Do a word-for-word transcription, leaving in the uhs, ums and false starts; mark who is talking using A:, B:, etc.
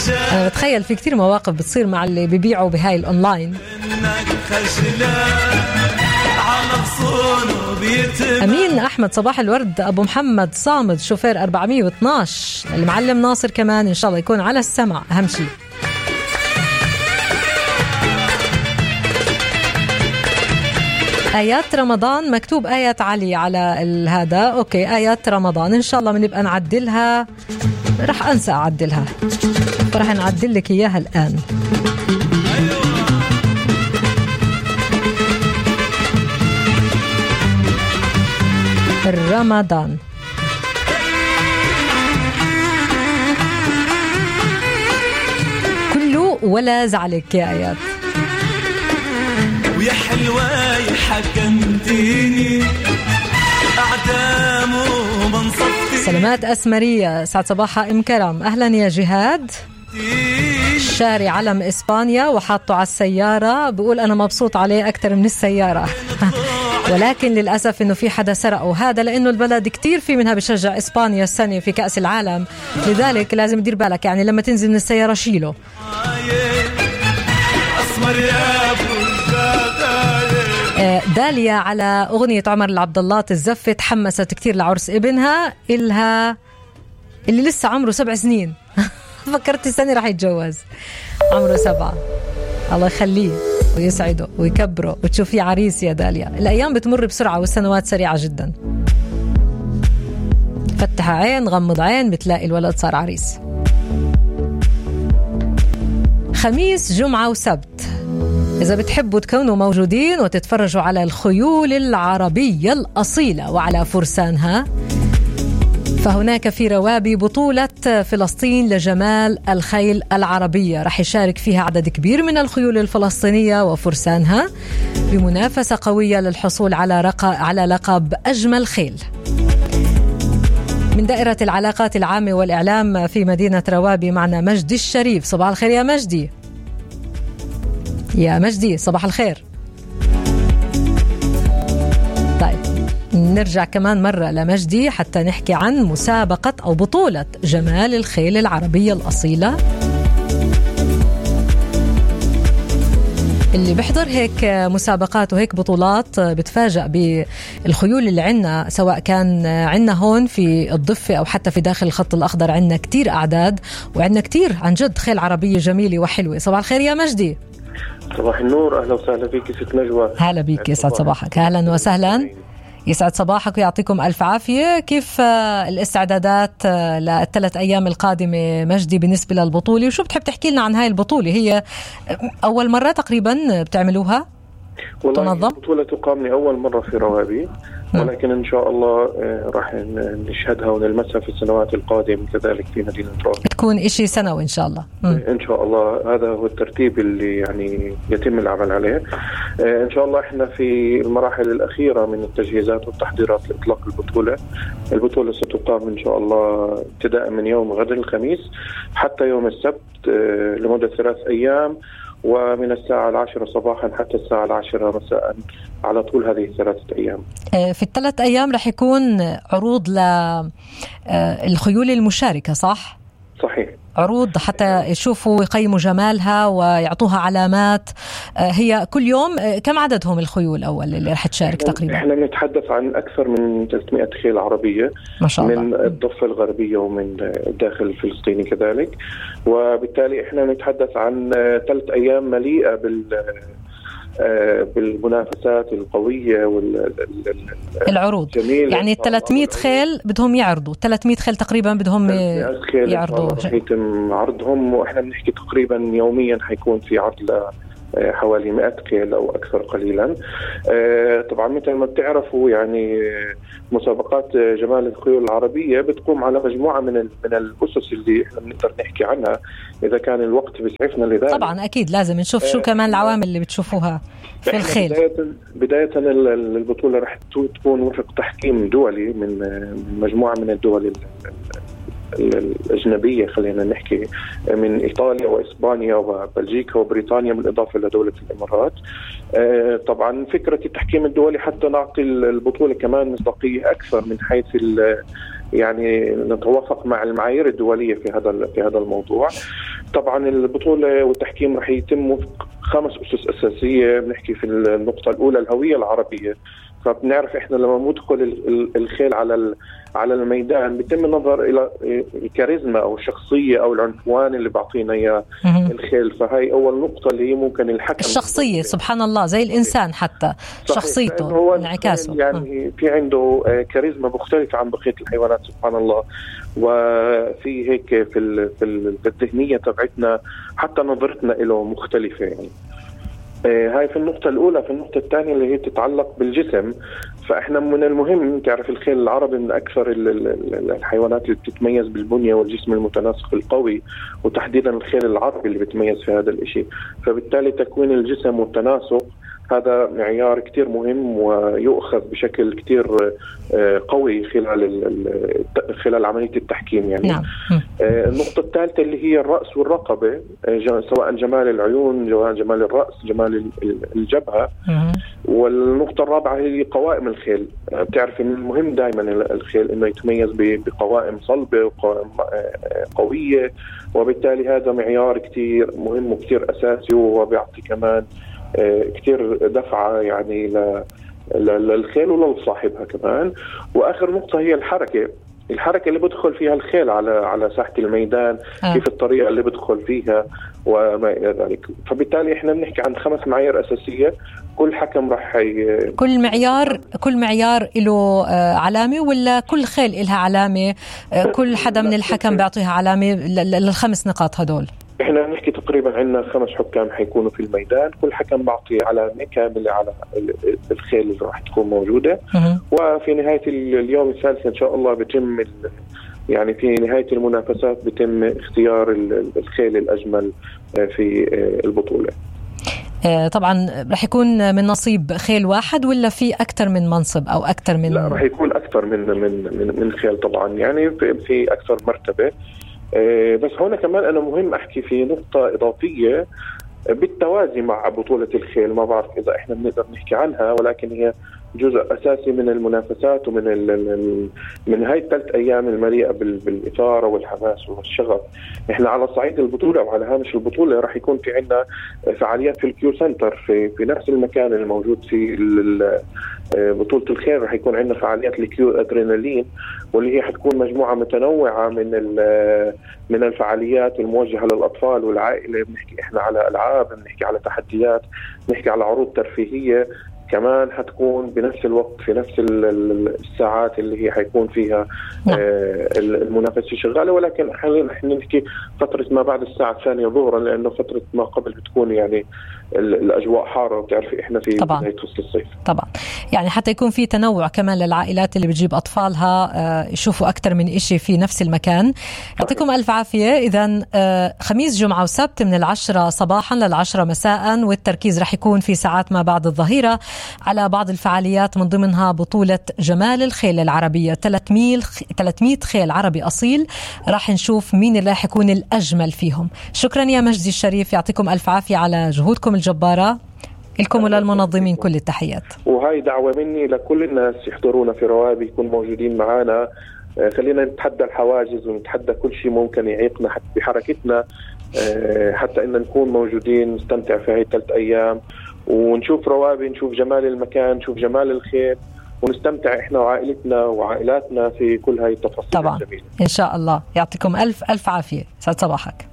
A: أنا بتخيل في كتير مواقف بتصير مع اللي بيبيعوا بهاي الأونلاين. أمين أحمد صباح الورد. أبو محمد صامد شوفير أربعمية واثناشر. المعلم ناصر كمان إن شاء الله يكون على السمع أهم شيء. آيات رمضان مكتوب آيات علي على هذا. أوكي آيات رمضان إن شاء الله بنبقى نعدلها. رح أنسى أعدلها فرح نعدل لك إياها الآن. رمضان كله ولا زعلك يا آيات.
B: ويا حلوة حكمتيني أعدام ومنصفتي.
A: سلامات أسمرية سعد صباحها إم كرم. أهلا يا جهاد. شاري علم إسبانيا وحاطه على السيارة بيقول أنا مبسوط عليه أكتر من السيارة ولكن للأسف إنه في حدا سرقه. هذا لأنه البلد كتير في منها بشجع إسبانيا السنة في كأس العالم لذلك لازم تدير بالك يعني لما تنزل من السيارة شيله. داليا على أغنية عمر العبد الله تزفت تحمست كتير لعرس ابنها إلها اللي لسه عمره سبع سنين. فكرت السنة راح يتجوز عمره سبعة. الله يخليه ويسعده ويكبره وتشوفي عريس يا داليا. الأيام بتمر بسرعة والسنوات سريعة جدا. فتح عين غمض عين بتلاقي الولد صار عريس. خميس جمعة وسبت إذا بتحبوا تكونوا موجودين وتتفرجوا على الخيول العربية الأصيلة وعلى فرسانها فهناك في روابي بطولة فلسطين لجمال الخيل العربية. رح يشارك فيها عدد كبير من الخيول الفلسطينية وفرسانها بمنافسة قوية للحصول على رق... على لقب أجمل خيل. من دائرة العلاقات العامة والإعلام في مدينة روابي معنا مجدي الشريف. صباح الخير يا مجدي. يا مجدي صباح الخير. طيب نرجع كمان مرة لمجدي حتى نحكي عن مسابقة أو بطولة جمال الخيل العربية الأصيلة اللي بيحضر هيك مسابقات وهيك بطولات بتفاجأ بالخيول اللي عنا سواء كان عنا هون في الضفة أو حتى في داخل الخط الأخضر. عنا كتير أعداد وعنا كتير عن جد خيل عربية جميلة وحلوة. صباح الخير يا مجدي.
C: صباح النور. أهلا وسهلا فيك ست نجوى.
A: هلا بيك يسعد صباحك. أهلا وسهلا يسعد صباحك ويعطيكم ألف عافية. كيف الاستعدادات للثلاث أيام القادمة مجدي بالنسبة للبطولة وشو بتحب تحكي لنا عن هاي البطولة؟ هي أول مرة تقريبا بتعملوها؟
C: والله البطولة تقام لأول مرة في روابي ولكن إن شاء الله راح نشهدها ونلمسها في السنوات القادمة كذلك في مدينة روابي. تكون إشي سنوي إن شاء الله. م. إن شاء الله هذا هو الترتيب اللي يعني يتم العمل عليه. إن شاء الله إحنا في المراحل الأخيرة من التجهيزات والتحضيرات لإطلاق البطولة. البطولة ستقام إن شاء الله ابتداء من يوم غد الخميس حتى يوم السبت لمدة ثلاث أيام ومن الساعة العاشرة صباحا حتى الساعة العاشرة مساء على طول هذه الثلاثة أيام.
A: في الثلاث أيام رح يكون عروض للخيول المشاركة صح؟
C: صحيح.
A: عروض حتى يشوفوا ويقيموا جمالها ويعطوها علامات. هي كل يوم كم عددهم الخيول أول اللي رح تشارك تقريبا؟
C: احنا بنتحدث عن أكثر من ثلاثمائة خيل عربية ما شاء الله. من الضفة الغربية ومن الداخل الفلسطيني كذلك وبالتالي احنا نتحدث عن ثلاث أيام مليئة بال بالمنافسات القوية
A: والعروض يعني ثلاثمائة خيل بدهم يعرضوا ثلاثمائة خيل تقريبا بدهم يعرضوا
C: يتم عرضهم وإحنا بنحكي تقريبا يوميا حيكون في عرض حوالي مئة خيل أو أكثر قليلا. طبعا مثل ما بتعرفوا يعني مسابقات جمال الخيول العربية بتقوم على مجموعة من من الأسس اللي احنا بنقدر نحكي عنها إذا كان الوقت بيسعفنا لذلك.
A: طبعا أكيد لازم نشوف شو كمان العوامل اللي بتشوفوها في الخيل.
C: بداية, بداية البطولة رح تكون وفق تحكيم دولي من مجموعة من الدول الأجنبية خلينا نحكي من إيطاليا وإسبانيا وبلجيكا وبريطانيا بالإضافة لدولة الإمارات. طبعا فكرة التحكيم الدولي حتى نعطي البطولة كمان مصداقية أكثر من حيث يعني نتوافق مع المعايير الدولية في هذا في هذا الموضوع. طبعا البطولة والتحكيم رح يتم خمس أسس أساسية. بنحكي في النقطة الأولى الهوية العربية. فبنعرف إحنا لما ندخل الخيل على على الميدان بيتم النظر إلى الكاريزما أو الشخصية أو العنفوان اللي بعطينا إياه الخيل. فهي أول نقطة اللي هي ممكن الحكم
A: الشخصية. سبحان الله، زي الإنسان حتى شخصيته انعكاسه،
C: يعني في عنده كاريزما مختلفة عن بقية الحيوانات سبحان الله. وفي هيك في في الذهنية تبعتنا حتى نظرتنا له مختلفة يعني. هاي في النقطة الأولى. في النقطة الثانية اللي هي تتعلق بالجسم، فإحنا من المهم تعرف الخيل العربي من أكثر الحيوانات اللي بتتميز بالبنية والجسم المتناسق القوي، وتحديدا الخيل العربي اللي بتميز في هذا الإشي. فبالتالي تكوين الجسم والتناسق هذا معيار كتير مهم ويؤخذ بشكل كتير قوي خلال خلال عملية التحكيم يعني.
A: نعم.
C: النقطة الثالثة اللي هي الرأس والرقبة، سواء جمال العيون، جمال الرأس، جمال الجبهة. والنقطة الرابعة هي قوائم الخيل. بتعرف إن المهم دائما الخيل إنه يتميز بقوائم صلبة وقوائم قوية، وبالتالي هذا معيار كتير مهم وكتير أساسي، وهو بيعطي كمان كتير دفعة يعني للخيل ولصاحبها كمان. وآخر نقطة هي الحركة. الحركة اللي بدخل فيها الخيل على على ساحة الميدان، آه. كيف الطريقة اللي بدخل فيها وما إلى ذلك. فبالتالي إحنا بنحكي عن خمس معايير أساسية. كل حكم رح ي...
A: كل معيار كل معيار له علامة، ولا كل خيل لها علامة؟ كل حدا من الحكم بيعطيها علامة للخمس نقاط هدول.
C: احنا نحكي تقريبا عندنا خمس حكام حيكونوا في الميدان، كل حكم بعطي علامة كاملة على الخيل اللي راح تكون موجودة. وفي نهاية اليوم الثالث ان شاء الله بيتم يعني في نهاية المنافسات بيتم اختيار الخيل الأجمل في البطولة.
A: طبعا رح يكون من نصيب خيل واحد، ولا في أكثر من منصب أو أكثر من؟
C: لا، رح يكون أكثر من من من, من خيل طبعا، يعني في أكثر مرتبة. بس هنا كمان أنا مهم أحكي في نقطة إضافية بالتوازي مع بطولة الخيل. ما بعرف إذا إحنا بنقدر نحكي عنها، ولكن هي جزء أساسي من المنافسات ومن ال من هاي الثلاث أيام المليئة بالإثارة والحماس والشغف. إحنا على صعيد البطولة وعلى هامش البطولة راح يكون في عنا فعاليات في الكيو سنتر في في نفس المكان الموجود في بطولة الخيل. راح يكون عندنا فعاليات الكيو أدرينالين، واللي هي حتكون مجموعة متنوعة من من الفعاليات الموجهة للأطفال والعائلة. بنحكي إحنا على ألعاب، بنحكي على تحديات، بنحكي على عروض ترفيهية كمان حتكون بنفس الوقت في نفس الساعات اللي هي حيكون فيها آه المنافسة شغالة. ولكن حاليا احنا نحكي فترة ما بعد الساعة الثانية ظهرا، لأنه فترة ما قبل بتكون يعني الأجواء حارة، وبتعرفي احنا في بداية فصل الصيف.
A: طبعا يعني حتى يكون في تنوع كمان للعائلات اللي بتجيب أطفالها آه يشوفوا أكتر من إشي في نفس المكان. يعطيكم ألف عافية. إذن آه خميس جمعة وسبت من العشرة صباحا للعشرة مساء، والتركيز رح يكون في ساعات ما بعد الظهيرة على بعض الفعاليات، من ضمنها بطولة جمال الخيل العربية. ثلاثمية خيل عربي أصيل، راح نشوف مين اللي راح يكون الأجمل فيهم. شكرا يا مجدي الشريف، يعطيكم ألف عافية على جهودكم الجبارة. لكم وللمنظمين كل التحيات.
C: وهي دعوة مني لكل الناس يحضرونا في روابي، يكون موجودين معنا. خلينا نتحدى الحواجز ونتحدى كل شيء ممكن يعيقنا بحركتنا، حتى إن نكون موجودين نستمتع في هاي ثلاث أيام ونشوف روابي، نشوف جمال المكان، نشوف جمال الخيل، ونستمتع إحنا وعائلتنا وعائلاتنا في كل هاي التفاصيل
A: طبعا
C: الجميلة.
A: إن شاء الله. يعطيكم ألف ألف عافية. سعد صباحك.